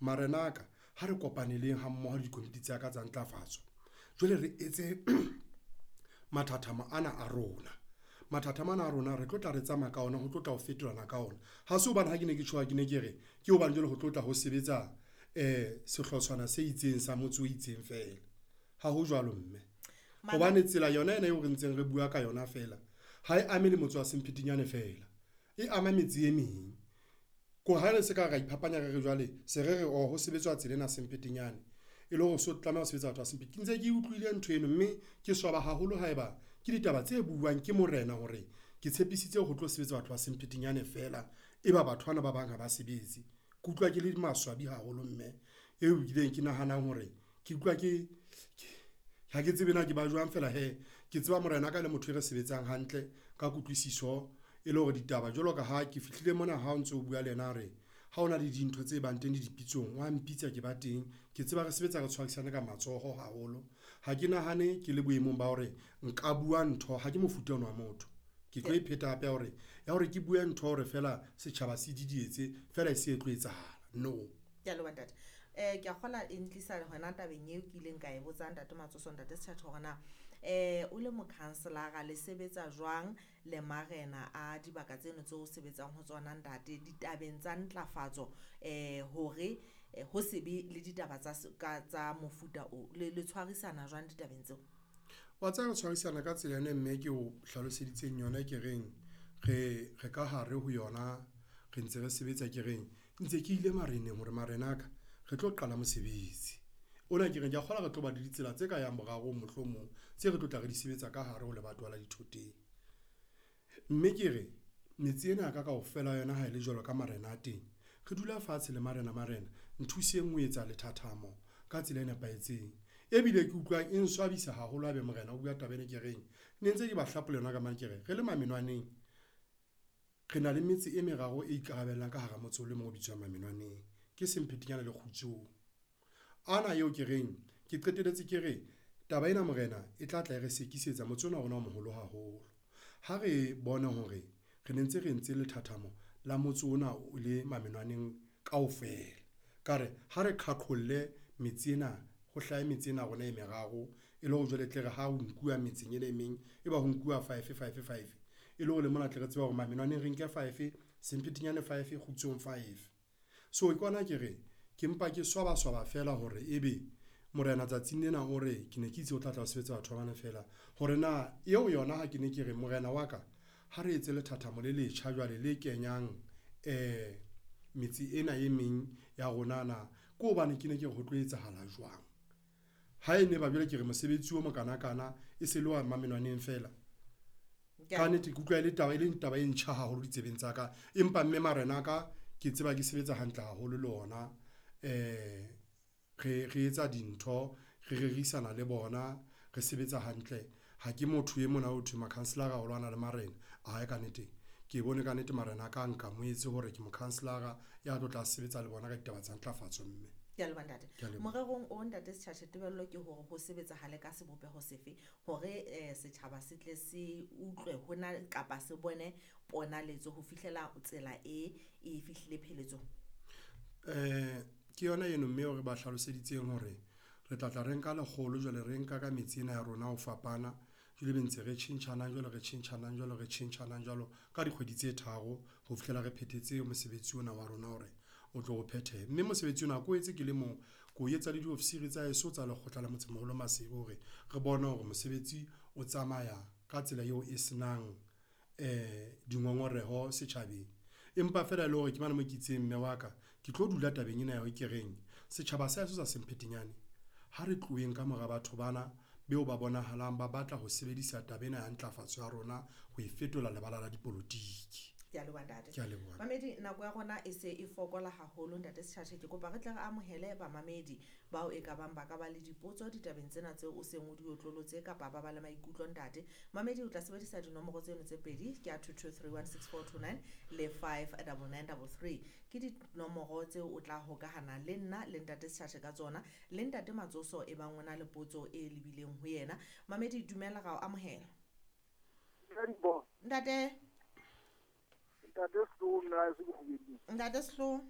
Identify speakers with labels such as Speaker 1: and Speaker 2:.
Speaker 1: Marena a ka, ha re kopaneleng ha mmoho le dikomiti tsa ka tsa ntlafatso, jwale re etse mathathamo ana a rona. Mathathamo ana a rona re tlo tla re tsamaya ka ona ho tlo tla ho fetolana ka ona. Ha se hobane ha ke ne ke tjho ke ne ke re ke hobane jwale ho tlo tla ho sebetsa sehlotshwana se itseng sa motse o itseng feela, ha ho jwalo mme. Hobane tsela yona ena eo re ntseng re bua ka yona feela ha e ame le motse wa Semphetinyane feela, e ama metse e meng. Ko re ha re se ka ra iphapanya re re jwale se re re oo ho sebetswa tsela ena Semphetinyane e le hore so tlameha ho sebetsa batho ba ke ntse ke utlwile ntho eno, mme ke swaba haholo haeba ke ditaba tse buwang ke morena hore ke tshepisitse ho tlo sebetsa batho ba Semphetinyane feela, eba batho bana ba bang ha ba sebetse. Ke utlwa ke le maswabi haholo mme eo ebileng ke nahanang hore ke utlwa ke, ha ke tsebe na ke ba jwang feela hee, ke tseba morenaka e le motho e re sebetsang hantle ka kutlwisiso e le hore ditaba jwalo ka ha ke fihlile mona ha o ntso bua le yena a re, ha hona le dintho tse bang teng le dipitsong wa mpitsa ke ba teng, ke tseba re sebetsa re tshwarisane ka matsoho haholo. Ha ke nahane ke le boemong ba hore nka bua ntho, ha ke mofuta ono wa motho, ke tlo e pheta hape ya hore ke bue ntho hore feela setjhaba se didietse feela e se e tlo etsahala, no.
Speaker 2: Ke a leboha ntate. Ke a kgola e ntlisa hona tabeng eo ke ileng ka e botsa ntate Matsoso, ntate Sethatho hore na o le mokhanselara le sebetsa jwang le marena a dibaka tseno tseo sebetsang ho tsona ntate ditabeng tsa ntlafatso hore ho se be le ditaba tsa ka tsa mofuta o, le tshwarisana jwang ditabeng tseo?
Speaker 1: Wa tseba re tshwarisana ka tsela ena mme ke o hlaloseditseng yona ke reng re ka hare ho yona, re ntse re sebetsa ke reng ntse ke ile mareneng hore marena a ka re tlo qala mosebetsi ona, ke reng kea kgolwa re tlo ba le ditsela tse ka yang borarong mohlomong tse re tlo tla re di sebetsa ka hare ho lebatowa la Dithoteng. Mme ke re metse ena ya ka kaofela ha yona ha e le jwalo ka marena a teng, re dula fatshe le marena, marena nthuseng ho etsa lethathamo ka tsela e nepahetseng ebile ke utlwang e nswabisa haholo haebe morena o bua taba ena ke reng ne ntse ke ba hlapola yona ka mane ke re, re le Mamenwaneng re na le metse e meraro e ikarabellang ka hara motse o le mong o bitswang Mamenwaneng, ke Semphetinyane le Kgutsong. Ana eo ke reng ke qetelletse ke re taba ena morena e tla tla e re sekisetsa motse ona wa rona o moholo haholo, ha re bone hore re ne ntse re entse lethathamo la motse ona o le Mamenwaneng kaofela, ka re ha re qhaqholle metse ena ho hlahe metse ena ya rona e meraro e le hore jwale e tle re ha ho nkuwa metseng ena e meng, e ba ho nkuwa five, five, five e le hore le mona tle re tsebe hore Mamenwaneng re nke five, Semphetinyane five, Kgutsong five. So ke hona ke re ke mpa ke swaba swaba feela hore ebe morena tsatsing lena o re ke ne ke itse ho tla tla ho sebetsa batho ba bane feela hore na eo yona ha ke ne ke re morena wa ka ha re etse lethathamo le letjha jwale le kenyang metse ena e meng ya rona na, ke hobane ke ne ke re ho tlo etsahala jwang. Ha e ne ba jwale ke re mosebetsi o mokanakana e se le wa Mamenwaneng feela, kannete ke utlwa e le taba e leng taba e ntjha haholo ditsebeng tsa ka, empa mme marena a ka ke tseba ke sebetsa hantle haholo le ona re etsa dintho, re rerisana le bona, re sebetsa hantle. Ha ke motho e mona ho thwe makhanselara o lwana le marena ae kannete, ke bone kannete marena a ka a nkamohetse hore ke mokhanselara ya tlo tla sebetsa le bona ka ditaba tsa ntlafatso mme.
Speaker 2: Ke a leboha ntate.
Speaker 1: Ke a leboha.
Speaker 2: Morerong o ntate Setjhatjhe, tebello ke hore ho sebetsahale ka sebopeho sefe hore setjhaba se tle se utlwe hona kapa se bone ponaletso ho fihlela tsela e e fihlile pheletsong?
Speaker 1: Ke yona eno mme eo re ba hlaloseditseng hore re tla tla re nka lekgolo jwale re nka ka metse ena ya rona ho fapana, jwale ebe ntse re tjhentjhanang jwalo, re tjhentjhanang jwalo, re tjhentjhanang jwalo ka dikgwedi tse tharo ho fihlela re phethetse mosebetsi ona wa rona hore o tlo o phethehe. Mme mosebetsi ona ha ke o etse ke le mong, ke o etsa le diofisiri tsa heso tsa lekgotla la Motsemoholo Maseru hore re bone hore mosebetsi o tsamaya ka tsela eo e senang dingongoreho setjhabeng. Empa feela e le hore ke mane moo ke itseng mme wa ka ke tlo dula tabeng ena ya hore ke reng setjhaba sa heso sa Semphetinyane ha re tloheng ka mora batho bana beo ba bonahalang ba batla ho sebedisa taba ena ya ntlafatso ya rona ho e fetola lebala la dipolotiki.
Speaker 2: Ke a leboha ntate.
Speaker 1: Ke a leboha.
Speaker 2: Mamedi, nako ya rona e se e fokola haholo ntate Setjhatjhe, ke kopa re tle re amohele bamamedi bao e ka bang ba ka ba le dipotso ditabeng tsena tseo o seng o di otlolotse kapa ba ba le maikutlo ntate. Mamedi, o tla sebedisa dinomoro tseno tse pedi ke ya 22316429 le 59933, ke dinomoro tseo o tla hokahana le nna le ntate Setjhatjhe ka tsona le ntate Matsoso e bang o na le potso e lebileng ho yena. Mamedi, dumela, ra o amohela. Ntate.
Speaker 3: Ntate Sehloho, nna se ke kgubeding.
Speaker 2: Ntate Sehloho.